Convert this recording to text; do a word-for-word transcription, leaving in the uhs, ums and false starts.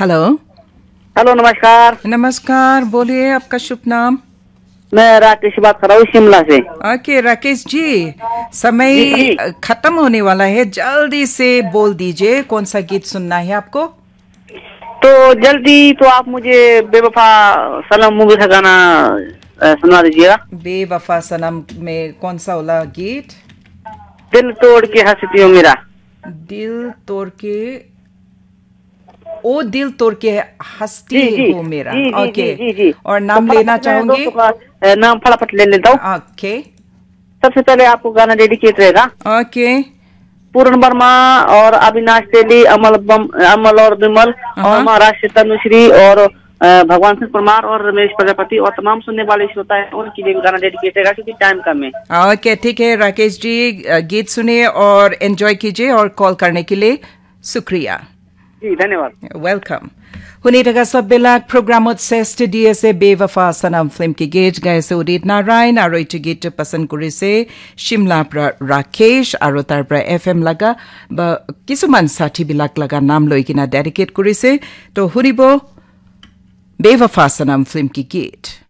Hello. Hello, नमस्कार। नमस्कार, बोलिए, आपका शुभ नाम? मैं राकेश बात कर रहा हूँ शिमला से। ओके, राकेश जी, समय जी, जी। अ, खत्म होने वाला है, जल्दी से बोल दीजिए कौन सा गीत सुनना है आपको। तो जल्दी तो आप मुझे बेवफा सनम मूवी का गाना, अ, सुना दीजिएगा। बेवफा सनम में कौन सा वाला गीत? दिल तोड़ के हंसती हो मेरा। दिल तोड़ के, ओ दिल तोड़ के हंसती जी, जी, हो मेरा। जी, जी, ओके। जी, जी, जी। और नाम तो फटाफट लेना मैं चाहूंगी? दोस्तों का, अ, नाम फटाफट ले लेता हूँ। ओके। सबसे पहले आपको गाना डेडिकेट रहेगा। ओके। पूरन वर्मा और अविनाश तेली, अमल बम, अमल और विमल और हाँ। महाराष्ट्र तनुश्री और, अ, भगवान सिंह परमार और रमेश प्रजापति और तमाम सुनने वाले श्रोता हैं, उनके लिए भी गाना डेडिकेट रहेगा क्योंकि टाइम कम है। ओके, ठीक है राकेश जी, अ, गीत सुनिए और एंजॉय कीजिए और कॉल करने के लिए शुक्रिया। जी, धन्यवाद। Welcome. Huni thaka sab belak programot seste di ase Bewafa Sanam film ke git gaise Udit Narayan aru etu git pasand kurise Shimla pra Rakesh aru tar pra F M laga ba kisuman sathi bilak laga naam loi kena dedicate kurise. To hunibo Bewafa Sanam film ke git.